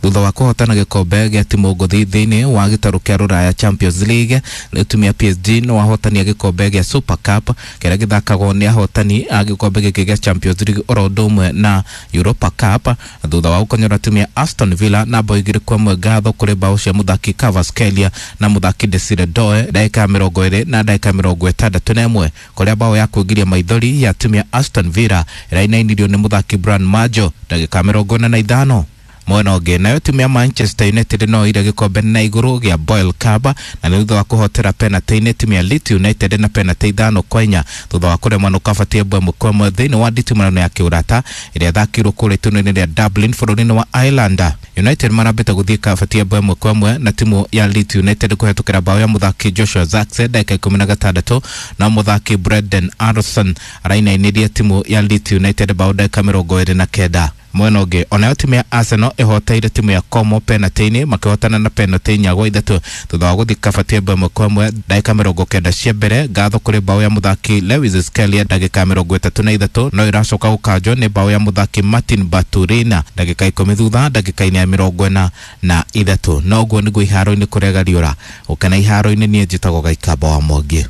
Thutha wa kũhotana gĩkombe gĩa timu ngũthi thĩinĩ wa gĩtarũ kĩa Rũraya Champions League, rĩu timu ya PSG no ahotani a gĩkombe gĩa Super Cup kĩrĩa gĩthakagwo nĩ ahotani a gĩkombe gĩkĩ gĩa Champions League oro ũndũ ũmwe na Europa Cup, thutha wa gũkonyora timu ya Aston Villa na bao 2-1 ngatho kũrĩ bao cia mũthaki Kvaratskhelia na mũthaki Desire Doe ndagĩka ya 20 na ndagĩka 61, kũrĩa bao ya kũingĩria maithori ya timu ya Aston Villa ĩrainainirio nĩ mũthaki Brian Majo ndagĩka 45. Mwena ũngĩ, nayo timu ya Manchester United no ire gĩkombe na igũrũ gĩa Boyle Cup, na nĩ thutha wa kũhotera penalty-inĩ timu ya Leeds United na penalty 5-4, thutha wa kũremwo nĩ kabatie 1-1 thĩinĩ wa nditimũrano ya kĩũrata ĩrĩa ĩthakĩirwo kũrĩa itũũra-inĩ rĩa Dublin bũrũri-inĩ wa Ireland. United marambĩte gũthiĩ kabatie 1-1 na timu ya Leeds United kũhetũkĩra bao ya mũthaki Joshua Zirkzee ndagĩka 16, na mũthaki Brendan Aaronson arainainirie timu ya Leeds United bao ndagĩka 29. Mwena ũngĩ, onayo timu ya Arsenal ĩhoteire timu ya Como penalty-inĩ makĩhotana na penalty 4-3, thutha wa gũthiĩ kabatie 1-1 ndagĩka 90 cia mbere ngatho kũrĩ bao ya mũthaki Lewis Skelly ndagĩka 33, no ĩracoka gũkanjwo nĩ bao ya mũthaki Martin Baturina ndagĩka 10 thutha ndagĩka-inĩ ya 43. No ũguo nĩguo iharo-inĩ kũrĩa gariũra gũkena iharo-inĩ. Niĩ njĩtagwo Gaikamba wa Mwangi.